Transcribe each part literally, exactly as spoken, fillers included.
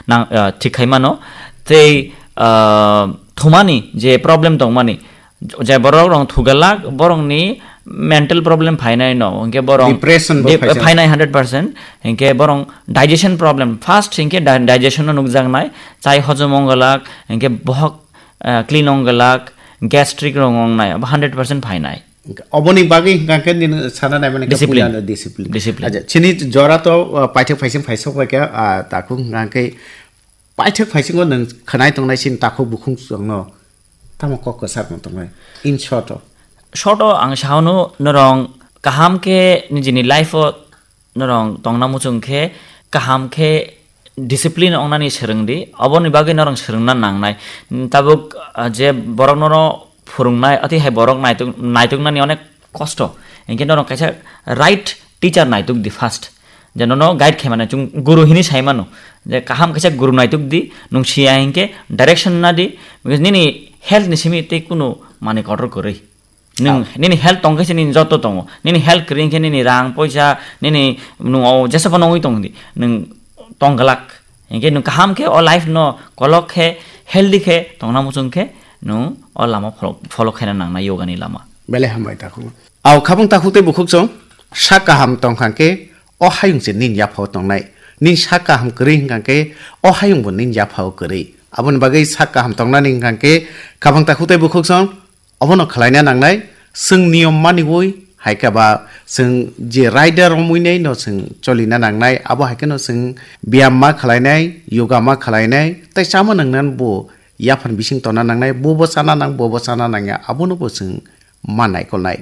nang, ah, thik khai mano. Tei, ah, thumani je problem tongmani, je borok rong thugalak, borokni mental problem phainai no, hwnkhe borok Depression bo dep-, phaijak. Phainai hundred percent, hwnkhe borok digestion problem, first hwnkhe di-, digestion no nukjaknai, chai hojom wnggalak, hwnkhe bohok, ah, clean wnggalak, gastric rong wngnai, abo hundred percent phainai. Oboni bagwi hwnkha khe nini sana naimani khe Discipline. Puilano discipline. Discipline. Acha, chini jora to, ah, paithak phaising phaisok bai khe, ah, takhuk hwnkha khe paithak phaisingo nwng khwnai tongnai chini takhuk bukhuk chwngno tamo kok kwchar no tongnai. In short o. Short o ang saono norong kaham khe nijini life o norong tongna muchung khe kaham khe discipline ongnani swrwng di, oboni bagwi norong swrwngna nangnai. Tabuk, ah, je borok nono phwrwngnai, atwi hai borok naituk-, naituknani onek kosto. Hinkhe norong kaisa right teacher naituk di first. Je nono guide khaimani chwng guru hini saimano. Je kaham kaisa guru naituk di, nwng siya hinkhe direction na di, because nini health ni simi tei kunu manwi kotor kwrwi. Nwng, ah, nini health tongkhe se nini joto tongo. Nini health kwrwi hinkhe nini rang, poisa, nini nwng o jesa phano wngwi tong di. Nwng tong glak. Hinkhe nwng kaham khe o life no kolok khe, healthy khe tongna muchung khe nwng o lama follow, follow khaina nangnai yoga ni lama. Belai hambai takhuk. Au khabung takhuk tei bukhuk chwng sak kaham tongkha khe o hayung se nini yaphao tongnai. Nini sak kaham kwrwi hwnkha khe o hayung bo nini yaphao kwrwi. Aboni bagwi sak kaham tongnani hwnkha khe khabung takhuk tei bukhuk chwng obono khlaina nangnai, chwng niyom maniwi, hai khe ba chwng je raida romwi nai no chwng cholina nangnai, abo hai kheno chwng biyam ma khlainai, yoga ma khlainai, tei chama nangnan bo yaphang bising tonna nangnai, bo bo chana nang, bo bo chana nangya, abono bo chwng ma naikolnai.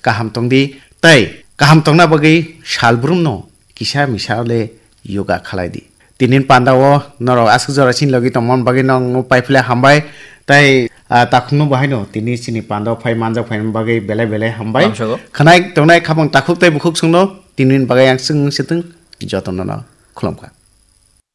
Kaham tongdi, tei kaham tongna bagwi salbrumno kisa misa le yoga khalai di. Tinin panda o norok aswk jora chini logi tongmani bagwi no ang no paiphle hambai. Tai, ah, takhukno bo haino tini chini panda o phai manjak phaimani bagwi belai belai hambai. Lamsogo. Khwnai tongnai khabang takhuk tai bukhuk chwngno tinin bagwi ang chwng sitwng jotono no khulumkha.